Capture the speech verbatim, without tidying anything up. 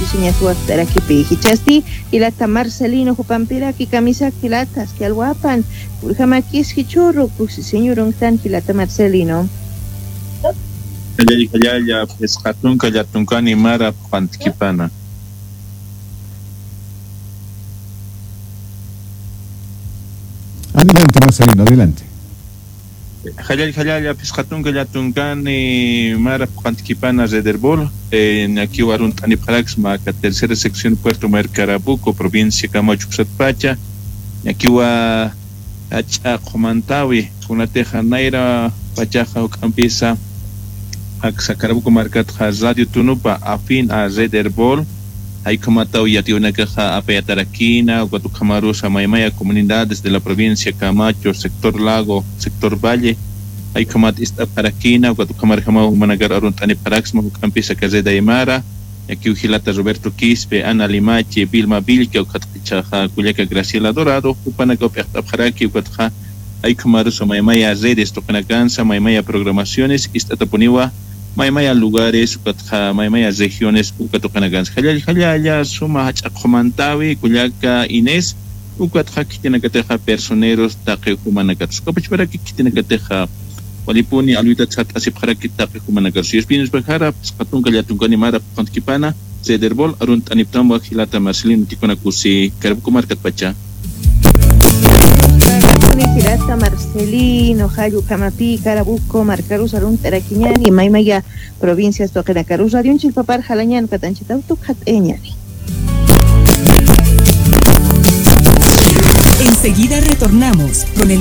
chiñas wakt'arakipi. Jichhasti jilata Marcelino jupampiraki kamisaki jilata, aski alwapan, purjamakis jichhüru, kusi señorunktan jilata Marcelino. Jallalla, jallalla, phisqa tunka llatunkani mara phuqantkipana. Adelante, Marcelino, adelante. Jallalla, jallalla, phisqa tunka llatunkani mara phuqantkipana Rederbol, eh, ñakiw arunt'anipxaraksma aka tercera sección Puerto Mayor Carabuco, provincia Camacho uksatpacha, ñakiwa jach'a qhumantäwi, kunatixa nayra pachaxa juk'ampisa, aksa Carabuco markatxa Radio Tunupa afín a Rederbol, jay ukhamataw yatiyäwinakaxa apayatarakïna, ukat ukhamarusa maymaya comunidades de la provincia Camacho, sector Lago, sector Valle, jay ukhamat ist'apxarakïna, ukat ukhamarjamaw jumanakar arunt'anipxaraksma juk'ampisa aka Red Aymara, ñakiw jilata Roberto Quispe, Ana Limache, Vilma Vilca, ukatxa kullaka Graciela Dorado, jupanakaw p'iqt'apxaraki, ukatxa jay ukhamarusa maymaya redes tuqinakansa, maymaya programaciones ist'atapuniwa, maymaya lugares, ukatxa maymaya regiones uka tuqinakansa. Jallalla, jallalla, suma jach'a qhumantäwi, kullaka Inés, ukatxa khitinakatixa personeros taqi jumanakatsa. Ukapachparaki khitinakatixa walipuni alwitat sart'asipxaraki taqi jumanakatsa. Yuspinus pajara, phisqa tunka llatunkani mara phuqantkipana, Rederbol arunt'anipxtamwa jilata Marcelino, tikunakusi Carabuco markatpacha. Jilata Marcelino, jall ukhamapi Carabuco markarus arunt'arakiñäni, maymaya provincias tuqinakarus radionchik papar jalañäni, ukat anchhitaw tukxat'ayañäni. Enseguida retornamos con el